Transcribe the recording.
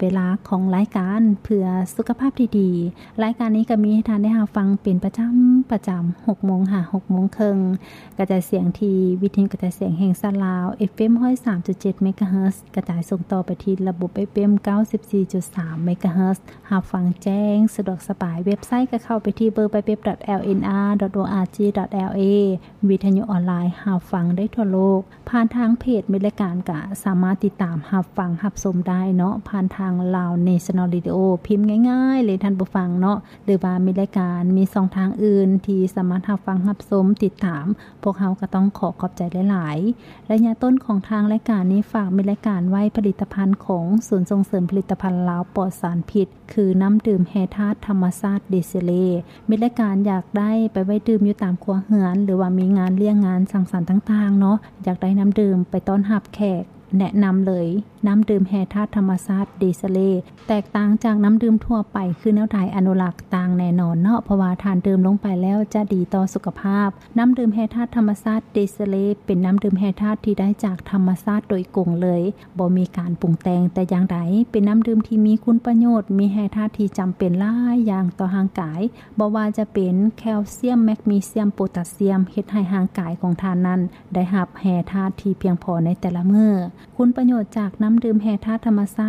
ເວລາຂອງລາຍການເພື່ອສຸຂະພາບທີ່ດີ. ລາຍການນີ້ກໍມີໃຫ້ທ່ານໄດ້ຮັບຟັງເປັນປະຈຳ, ປະຈຳ ຫົກໂມງຫາຫົກໂມງເຄິ່ງ, ກະຈາຍສຽງທີ່ວິທະຍຸກະຈາຍສຽງແຫ່ງຊາດລາວ ເອຟເອັມ ຮ້ອຍສາມຈຸດເຈັດ ເມກາເຮີດ, ກະຈາຍສົ່ງຕໍ່ໄປທີ່ລະບົບ ເອຟເອັມ ເກົ້າສິບສີ່ຈຸດສາມ ເມກາເຮີດ, ຮັບຟັງແຈ້ງສະດວກສະບາຍ. ເວັບໄຊກໍເຂົ້າໄປທີ່ ดัບເບິນຢູ ດັບເບິນຢູ ດັບເບິນຢູ ດອດ ໂອອາຈີ ດອດ ແອລເອ. ວິທະຍຸອອນລາຍຮັບຟັງໄດ້ທົ່ວໂລກ ຜ່ານທາງເພຈມິດລາຍການ ກະສາມາດຕິດຕາມຮັບຟັງຮັບຊົມໄດ້ເນາະ ຜ່ານທາງ Lao National Radio ພິມງ່າຍໆເລີຍທ່ານຜູ້ຟັງເນາະ ຫຼືວ່າມິດລາຍການມີຊ່ອງທາງອື່ນທີ່ສາມາດຮັບຟັງຮັບຊົມຕິດຕາມ ພວກເຮົາກໍຕ້ອງຂໍຂອບໃຈຫຼາຍໆ. ໄລຍະຕົ້ນຂອງທາງລາຍການນີ້ ຝາກມິດລາຍການໄວ້ຜະລິດຕະພັນຂອງສູນສົ່ງເສີມຜະລິດຕະພັນລາວປອດສານພິດ ຄືນ້ຳດື່ມແຮ່ທາດທຳມະຊາດເດເຊເລ. ມິດລາຍການຢາກໄດ້ໄປໄວ້ດື່ມຢູ່ຕາມຄົວເຮືອນ ຫຼືວ່າມີງານລ້ຽງງານສັງສັນຕ່າງໆເນາະ ຢາກໄດ້ນ້ຳດື່ມໄປຕ້ອນຮັບແຂກ ແນະນຳເລີຍ ນ້ຳດື່ມແຮ່ທາດທຳມະຊາດເດເຊເລ. ແຕກຕ່າງຈາກນ້ຳດື່ມທົ່ວໄປຄືແນວໃດ? ອະນຸລັກຕ່າງແນ່ນອນເນາະ ເພາະວ່າທ່ານດື່ມລົງໄປແລ້ວຈະດີຕໍ່ສຸຂະພາບ. ນ້ຳດື່ມແຮ່ທາດທຳມະຊາດເດເຊເລ ເປັນນ້ຳດື່ມແຮ່ທາດທີ່ໄດ້ຈາກທຳມະຊາດໂດຍກົງເລີຍ ບໍ່ມີການປຸງແຕ່ງແຕ່ຢ່າງໃດ. ເປັນນ້ຳດື່ມທີ່ມີຄຸນປະໂຫຍດ, ມີແຮ່ທາດທີ່ຈຳເປັນຫຼາຍຢ່າງຕໍ່ຮ່າງກາຍ, ບໍ່ວ່າຈະເປັນແຄວຊຽມ, ແມັກນີຊຽມ, ໂປຕາຊຽມ, ເຮັດໃຫ້ຮ່າງກາຍຂອງທ່ານນັ້ນໄດ້ຮັບແຮ່ທາດທີ່ພຽງພໍໃນແຕ່ລະມື້. ຄຸນປະໂຫຍດຈາກນ້ຳດື່ມແຮ່ທາດທຳມະຊາດ